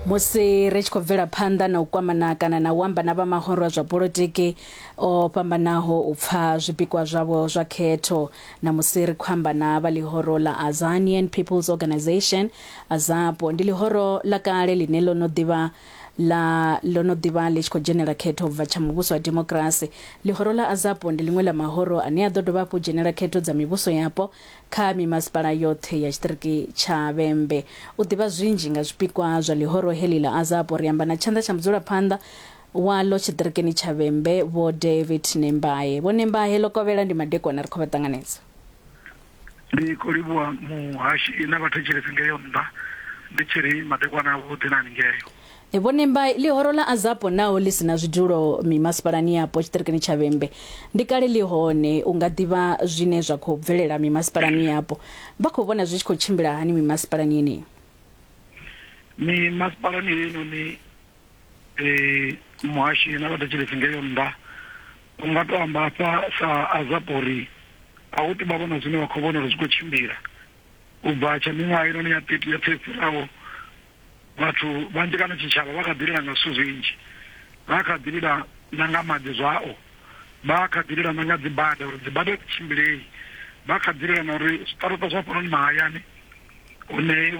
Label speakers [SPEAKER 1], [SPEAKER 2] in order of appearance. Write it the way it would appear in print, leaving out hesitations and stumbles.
[SPEAKER 1] Musi ri tshi khou bvela phanḓa na u kwamana kana na u amba na vha mahoro a zwa polotiki o fhambanaho u pfa zwipikwa zwavho zwa khetho, na musi ri khou amba na vha ḽihoro ḽa Azanian People's Organisation, AZAPO, ndi ḽihoro ḽa kale ḽine ḽo no ḓivha ḽa ḽo no ḓivha ḽi tshi khou dzhenela khetho u bva tsha muvhuso wa demokirasi. Ḽihoro ḽa AZAPO ndi ḽiṅwe ḽa mahoro ane a ḓo dovha hafhu dzhenela khetho dza mivhuso yapo kha mimasipala yoṱhe ya tshiṱiriki tsha Vhembe. U ḓivha zwinzhi nga zwipikwa zwa ḽihoro heḽi ḽa AZAPO ri amba na tshanḓa tsha mudzulaphanḓa waḽo tshiṱirikini tsha Vhembe Vho David Nembahe. Vho Nembahe, ḽo kovhela ndi madekwana ri khou vha ṱanganedza.
[SPEAKER 2] Ndi khou livhuwa muhashi na vhathetshelesi ngeyo nnḓa ndi tshi ri madekwana avhuḓi na haningeo.
[SPEAKER 1] Vho Nembai, ḽihoro ḽa AZAPO naho ḽi si na zwidulo mimasipalani yapo tshiṱirikini tsha Vhembe, ndi kale ḽi hone. U nga ḓivha zwine zwa khou bvelela mimasipalani yapo. Vha khou vhona zwi tshi khou tshimbila hani mimasipalani yeneyi?
[SPEAKER 2] Mimasipalani heinoni muhashi na vhathetshelesi ngeyo nnḓa, u nga tou amba hafha sa AZAPO uri a hu tou vha vhona zwine vha khou vhona uri zwi khou tshimbila. U bva tsha miṅwaha heinoni ya 30 yoṱhe yo fhiraho, Vhathu vhanzhi kana tshitshavha vha kha ḓi lila nga zwithu zwinzhi. Vha kha ḓi lila na nga maḓi zwao, vha kha ḓi lila na nga dzibada uri dzibada a dzi tshimbilei, vha kha ḓi lila na uri zwiṱaraṱa zwa hafhanoni mahayani hune.